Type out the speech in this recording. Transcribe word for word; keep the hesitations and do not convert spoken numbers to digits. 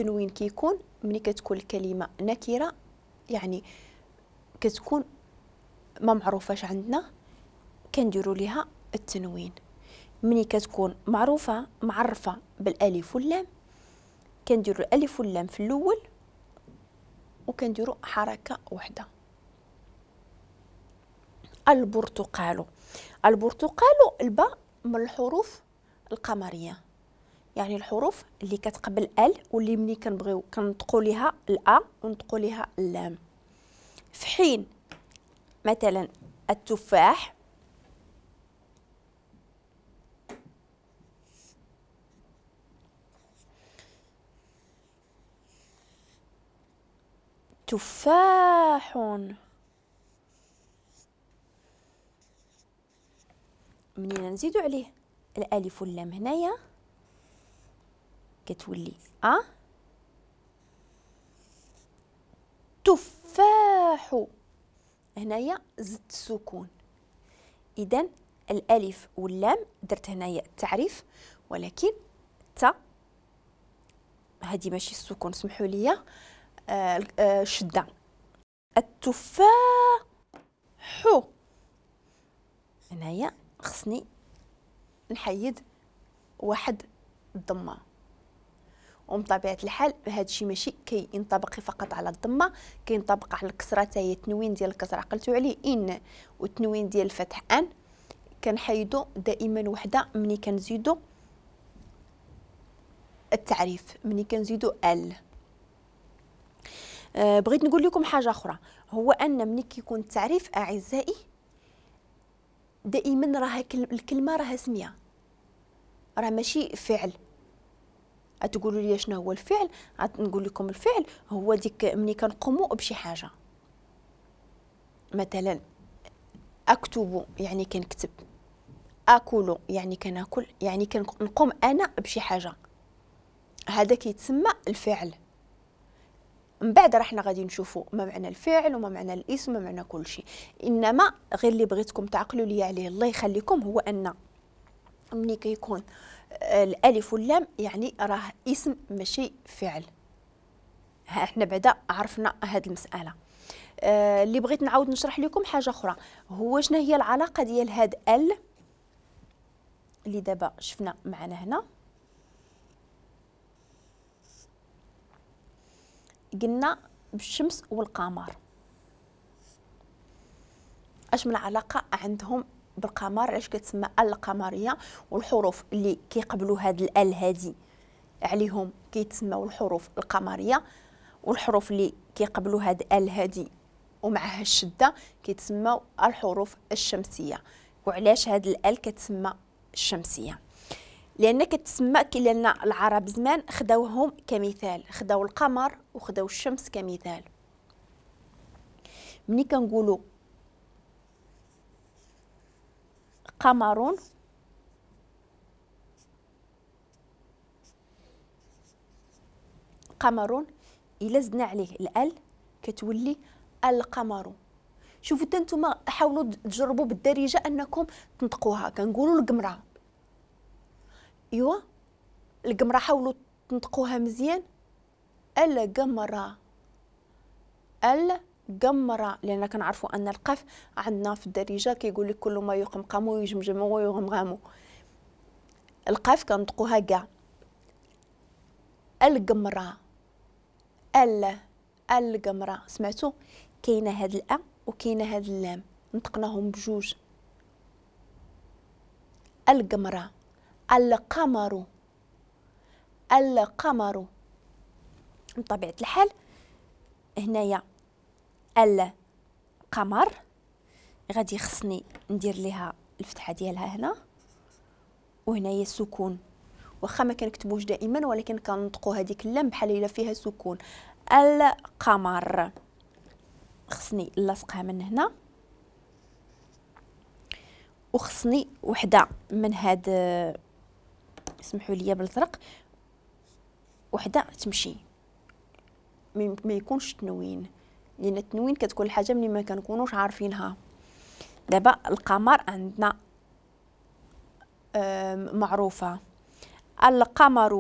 التنوين كيكون ملي كتكون الكلمة نكره، يعني كتكون ما معروفاش عندنا كنديروا ليها التنوين. ملي كتكون معروفة معرفة بالالف واللام كنديروا الالف واللام في الاول وكنديروا حركة واحدة. البرتقال، البرتقال الباء من الحروف القمريه، يعني الحروف اللي كتقبل ال واللي ملي كنبغيو كنطقوا ليها الا ونطقوا ليها اللام. في حين مثلا التفاح تفاح، منين نزيدو عليه الالف واللام هنايا كتولي ا تفاح، هنايا زدت السكون. اذا الالف واللام درت هنايا التعريف، ولكن تا هذه ماشي السكون، سمحوا لي، آه آه شده. التفاح هنايا خصني نحيد واحد الضمة، وبطبيعة الحال هادشي ماشي كينطبق فقط على الضمة، كينطبق على الكسرة حتى هي. التنوين ديال الكسرة عقلتو عليه ان، والتنوين ديال الفتح ان، كنحيدو دائما وحده ملي كنزيدو التعريف، ملي كنزيدو ال. أه بغيت نقول لكم حاجة اخرى، هو ان ملي كيكون التعريف اعزائي دائما راه الكلمة راها سميه، راه ماشي فعل. غتقولوا لي شنو هو الفعل؟ غنقول لكم الفعل هو ديك ملي كنقوموا بشي حاجة. مثلا اكتب يعني كنكتب، اكل يعني كناكل، يعني كنقوم انا بشي حاجة، هذا كيتسمى الفعل. من بعد راه حنا غادي نشوفوا ما معنى الفعل وما معنى الاسم وما معنى كل شيء. انما غير اللي بغيتكم تعقلوا لي عليه الله يخليكم هو ان ملي كيكون الالف واللام يعني راه اسم ماشي فعل. ها احنا بعدا عرفنا هذه المسالة. آه اللي بغيت نعاود نشرح لكم حاجة اخرى، هو شنو هي العلاقة ديال هاد ال اللي دابا شفنا معنا هنا. قلنا بالشمس والقمر، اش من علاقة عندهم بالقمر؟ علاش كتسمى القمريه؟ والحروف اللي كيقبلوا هاد الال هادي عليهم كيتسموا الحروف القمريه، والحروف اللي كيقبلوا هاد ال هادي ومعها الشدة كيتسموا الحروف الشمسية. وعلاش هاد الال كتسمى الشمسية؟ لان كتسمى لان العرب زمان خداوهم كمثال، خداو القمر وخداو الشمس كمثال. ملي كنقولوا قمر قمر الا زدنا عليه الال كتولي القمر. شوفوا حتى نتوما حاولوا تجربوا بالدارجة انكم تنطقوها. كنقولوا القمره، ايوا القمره حاولوا تنطقوها مزيان، القمره القمره، لان كنعرفوا ان القاف عندنا في الدارجة كيقول لك كل ما يقمقم ويجمجم ويغمغم، القاف كنطقوها كاع. القمره ال القمره، سمعتوا؟ كاينه هاد الأ وكاينه هاد اللام، نطقناهم بجوج. القمره، القمر، القمر. بطبيعة الحال هنايا القمر غادي خصني ندير ليها الفتحة ديالها هنا، وهنايا السكون، واخا ما كنكتبوش دائما ولكن كنطقوا هذيك اللام بحال الا فيها سكون. القمر خصني نلصقها من هنا، وخصني وحده من هاد، اسمحوا لي بالزرق، وحده تمشي ما يكونش تنوين، لان التنوين كتكون الحاجة ملي ما كنكونوش عارفينها. دابا القمر عندنا معروفة، القمر.